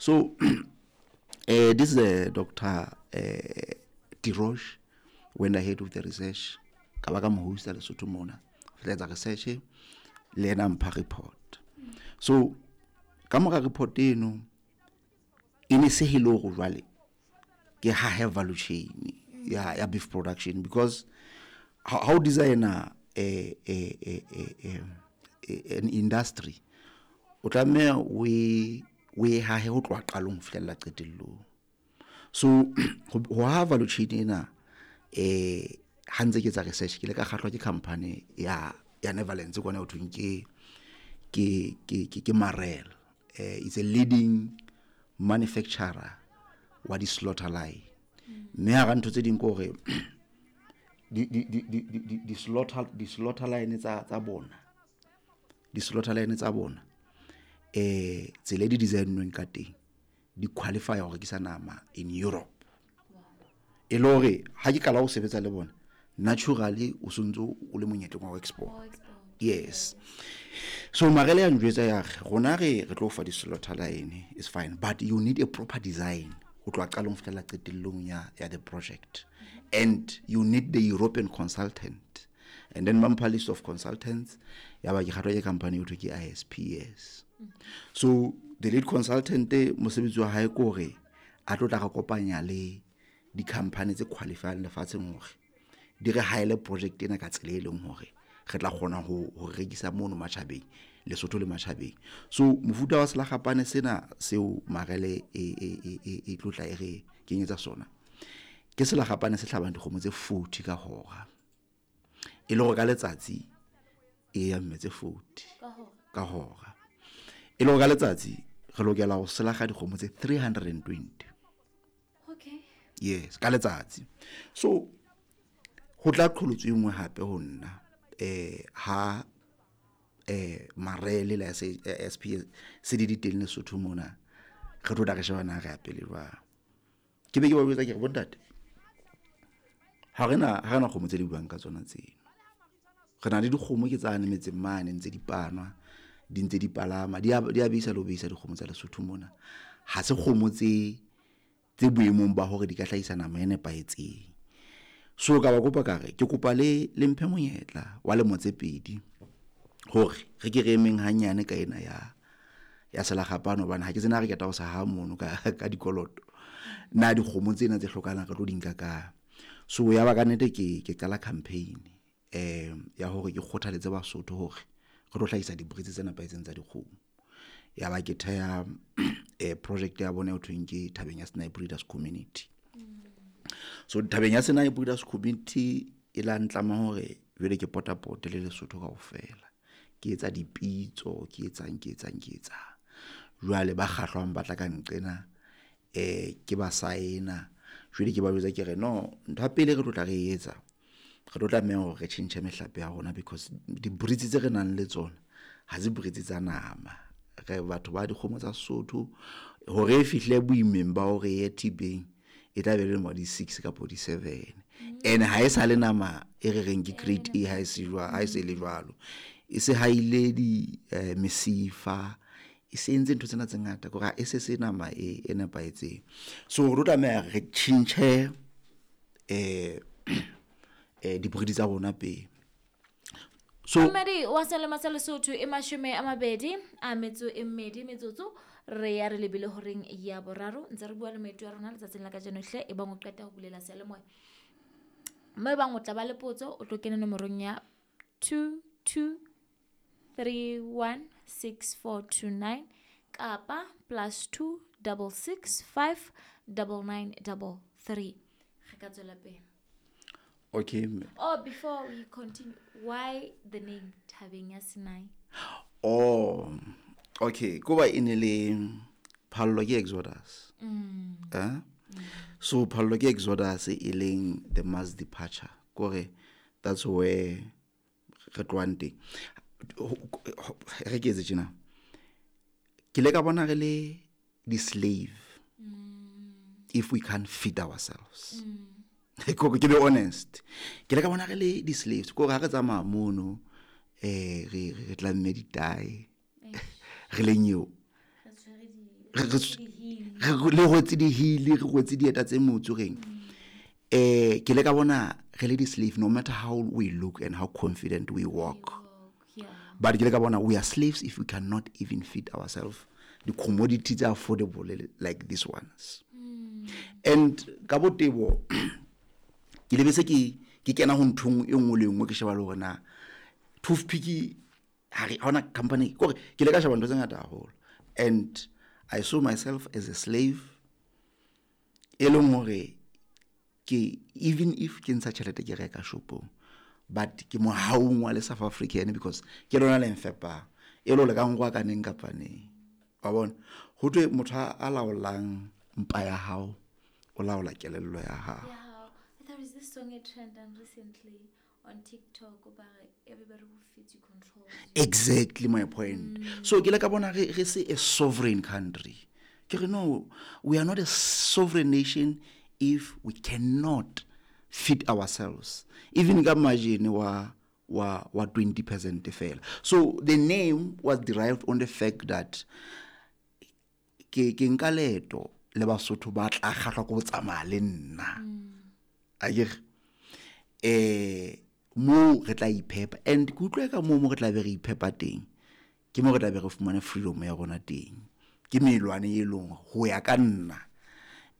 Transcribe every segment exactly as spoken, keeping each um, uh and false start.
So uh, this is uh, Doctor uh, Tirosh went ahead with the research. Ka ba ka mo hosta Lesotho mona. Re etsa research le ena mpha report. So ka mora report eno e ne se hele hore jwale ke hahe value chain ya ya beef production, because how, how designer a a a a, a an industry o tlameha o e o e hahe ho tloha qalong ho fihlella qetellong. So ho ha value chain ena eh ha ntse ke etsa research ke le ka kgahlwa ke company ya ya Netherlands kwana ho thweng ke ke ke ke, ke Marel. Eh it's a leading manufacturer wa di slaughter line. Mme hara ntho tse ding ke hore di di di di di di slaughter di slaughter line tsa tsa bona di slaughter line tsa bona eh tsela e di designweng ka teng di qualify ho rekisa nama in Europe. E le hore ha ke qala ho sebetsa le bona naturally o sontso o le monyetleng wa ho export. Yes. So Marele ya njwetsa ya re rona re re tlo fa di slaughter line is fine, but you need a proper design ho tloha qalong ho fihlela qetellong ya ya the project, and you need the European consultant. And then ba mpha list of consultants ya ba ke kgathwa ke company eo thwe ke I S P S. So the lead consultant mosebetsi wa hae ke hore a tlo tla re kopanya le di-company tse qualifying lefatsheng hore di re haele project ena ka tsela e leng hore re tla kgona ho, ho rekisa mono matjhabeng, Lesotho le matjhabeng. So mofuta wa selakgapane sena seo Marele e, e, e, e, e tlo tla e re kenyetsa sona ke selakgapane se hlabang dikgomo tse forty ka hora, e le hore ka letsatsi e ya mme tse forty ka hora, e le hore ka letsatsi re lokela ho selakga dikgomo tse three hundred and twenty. Okay. Yes, ka letsatsi. So ho tla qholotso e nngwe hape ho nna eh ha eh Marele la S P S se di teng Lesotho mona re tlo tla re shebana re ya pele jwang. Ke be ke ba botsa ke re bontate ha rena ha rena kgomo tse di buang ka tsona tseno, re na le dikgomo ke tsane metseng mane ntse di panwa di ntse di palama di a di a beisa le ho beisa dikgomo tsa Lesotho mona, ha se kgomo tse tse boemong ba hore di ka hlahisa nama e nepahetseng. So ka ba kopa ka re ke kopa le le mphe monyetla wa lemo tse pedi hore re ke re emeng hanyane ka ena ya ya selakgapane, hobane ha ke tsena re keta ho sa ha mono ka ka dikoloto na dikgomo tsena tse hlokahalang re tlo di nka ka. So ya ba ka nnete ke ke qala campaign eh ya hore ke kgothaletse Basotho hore re tlo hlahisa di-breeds tse nepahetseng tsa dikgomo. Ya ba ke theha eh project ya bona e thweng ke Thabeng ya Sinai Breeders Community. So Thabeng ya Sinai Breeders Community e la ntlama hore jwale ke potapote le Lesotho kaofela, ke etsa dipitso, ke etsang ke etsang ke etsang. Jwale ba kgahlwang ba tla ka nqena eh ke ba saena. Jwale ke ba jwetsa ke re no, ntho ya pele re tlo tla re etsa re tlo tlameha hore re tjhentjhe mehlape ya rona, because di-breeds tse re nang le tsona ha se breeds tsa nama. Re batho ba dikgomo tsa Sesotho hore e fihle boimeng ba hore e ye thibeng e tla be le mo di six kapa di seven, and ha e sa le nama e re reng ke grade A, ha e se jwa ha e se le jwalo, e se haile di eh, mesifa, e se entse ntho tsena tse ngata kore e se se nama e e nepahetseng. So re tlo tlameha re tjhentjhe eh eh di-breed tsa rona pele. So Mmedi wa selemo sa Lesotho e mashome a mabedi a metso e mmedi metsotso re ya re lebile horeng ya boraro ntse re bua le moeti wa rona letsatsing la kajeno hle e bang o qeta ho bulela seyalemoya mme bang o tla ba le potso o tlo kena nomorong ya two two three one six four two nine kapa plus two double six five double nine double three. Re ka tswela pele. Okay. Oh, before we continue, why the name Thabeng ya Sinai? Oh, okay. Ko ba e ne le phallo ke Exodus. Mm. Eh? Mm. So phallo ke Exodus e leng the mass departure. Kore that's where re tlohang teng. Re ke etse tjena. Ke le ka bona re le di slave. Mm. If we can't feed ourselves. Mm. Ke be honest. Ke le ka bona re le di slaves. Ko re ha re tsamaya mono eh re re tlamme ditae. Re le nyeo. Re tshwere di Re rwetse di-heel, re rwetse dieta tse motsu reng. Eh ke le ka bona re le di-slave no matter how we look and how confident we walk. Yeah. But ke le ka bona we are slaves if we cannot even feed ourselves the commodities are affordable like these ones. Mm. And ka botebo ke lebetse ke ke kena ho nthong e nngwe le nngwe ke sheba le hore na toothpick ha re ha hona company kore ke le ka sheba ntho tse ngata haholo. And I saw myself as a slave e leng hore ke even if ke ntsha tjhelete ke reka shopong, but ke mohaung wa le South African because ke lona le mfepang e le hore ka nkwa ka neng kapa neng. Wa bona ho thwe motho a laolang mpa ya hao o laola kelello ya hao. Yeah, there is this song it trended recently on TikTok about everybody who feeds you controls you. Exactly my point. Mm. So ke le ka bona re re se a sovereign country. Ke re no, we are not a sovereign nation if we cannot feed ourselves. Even ka margin wa wa wa twenty percent fela. So the name was derived on the fact that ke ke nka leeto le Basotho ba tla kgahlwa ke ho tsamaya le nna. Mm. Akere eh mo re tla iphepa and ke utlwa ka moo mo re tla be re iphepa teng ke mo re tla be re fumana freedom ya rona teng. Ke melwane e leng ho ya ka nna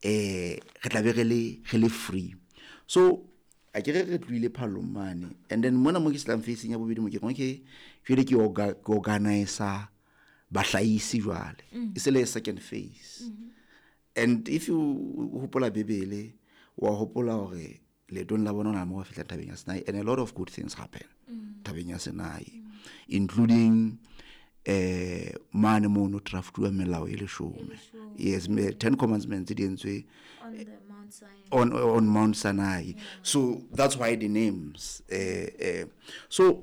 eh re tla be re le re le free. So akere re tlohile phallong mane and then mona mo ke slang facing ya bobedi mo ke re okay jwale ke orga-, ke organizer bahlahisi jwale. Mm. E se le second phase. Mm-hmm. And if you hopola Bibele wa hopola hore leetong la bona hona mo ba fihla thabeng ya Sinai and a lot of good things happen Mm. thabeng ya Sinai, Mm. including eh mane mono draftuwa melao e leshome. E leshome. Yes, me, ten commandments di entswe on the Mount Sinai. On, on Mount Sinai. Yeah. So that's why the names. Eh, eh, so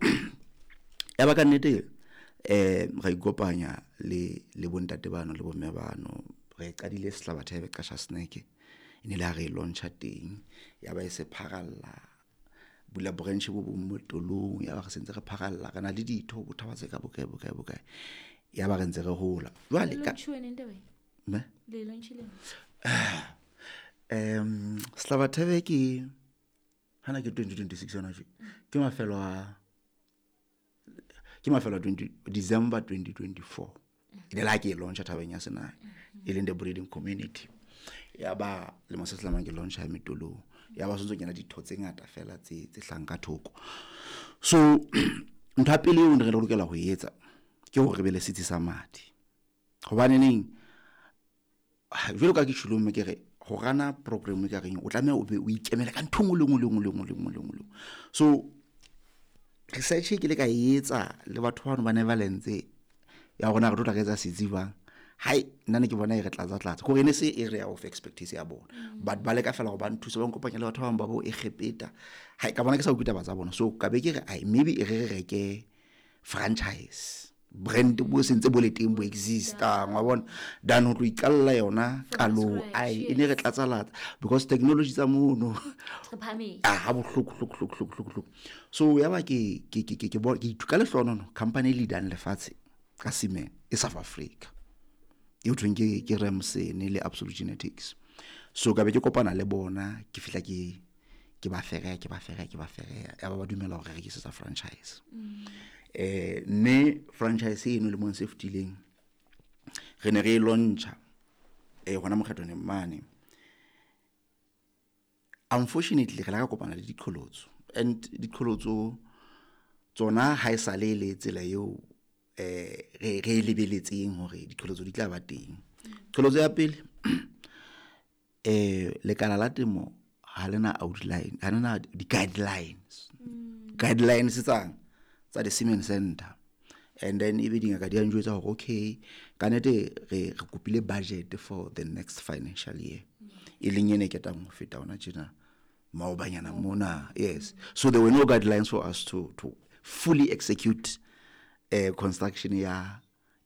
ya ba ka nnete eh ra ikopanya le le bontate bano le bomme bano re qadile Sehlabathebe Qasha Snack e ne le ha re launcha teng ya ba e se pharalla bula branch bo bong mo tolong ya ba re sentse re pharalla re na le ditho bo thaba tse ka bokae bokae bokae ya ba re ntse re hola jwale Le ka launch-uwe neng taba e? Me? Le launch-ile neng? Em, Sehlabathebe ke hana ke twenty twenty-six yona tje. Ke mafelo a ke mafelo a twenty December twenty twenty-four. E ne le ha ke e launcha thabeng ya Sinai, e leng the breeding community. Ya ba lemo se sehlamang ke launcha metolong. Ya ba sontso kena ditho tse ngata fela tse tse hlang ka thoko. So ntho ya pele eo re lokela ho e etsa ke hore re be le setsi sa madi. Hobane neng jwalo ka ke tjholo mme ke re ho rana program e ka reng o tlameha o be o ikemele ka ntho e nngwe le nngwe le nngwe le nngwe le nngwe le nngwe. So research e ke le ka e etsa le batho bano ba Netherlands ya rona re tlo tla re etsa setsi jwang. Hai nna ne ke bona e re tlatsa tlatsa kore ne se area of expertise ya bona. Mm. But ba leka fela go ba nthusa ba nkopanya le batho ba bang ba bo Egepeta. Hai ka bona ke sa utlwe taba tsa bona. So ka be ke re ai maybe e re re reke franchise brand bo sentse bo le teng bo exista wa bona than ho tlo iqalla yona From qalong. scratch, Ai e ne re yes. tlatsa latsa because technology tsa mono Re phahametse. Ah, ha bohloko, hloko, hloko, hloko, hloko, hloko. So ya ba ke ke ke ke ke bo-, ke ithuka lehlohonono company e leadang lefatshe ka cement e South Africa. E ho thweng ke, ke Remsen le Absolute Genetics. So ka be ke kopana le bona ke fihla ke, ke ba fereya, ke ba fereya, ke ba fereya. Ya ba ba dumela hore re rekisetsa franchise. Mm. Eh, mme franchise eno lemong se fetileng re ne re e launcha, eh, hona mokgathwaneng mane. Unfortunately re la ka kopana le diqholotso and diqholotso tsona ha e sa le le tsela eo eh, re, re e lebeletseng hore diqholotso di tla ba teng. Qholotso ya pele, eh, lekala la temo ha lena outline, ha lena di-guidelines. Mm. Guidelines tsang tsa the Semen Center. And then ebe dingaka di a njwetsa hore okay, ka nnete re, re kopile budget for the next financial year. Mm. E leng ene e ketang ho feta hona tjena maobanyana mona. Yes. So there were no guidelines for us to, to fully execute, eh, construction ya,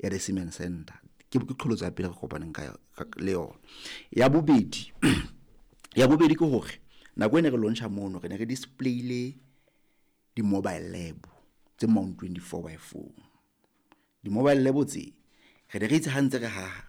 ya the Semen Center. Ke, ke qholotso ya pele re kopaneng ka, ka le yona. Ya bobedi, ya bobedi ke hore nako e ne re launcha mono re ne re displayile di-mobile lab tse mount twenty-four by four. Di-mobile lab tse re ne re itse ha ntse re haha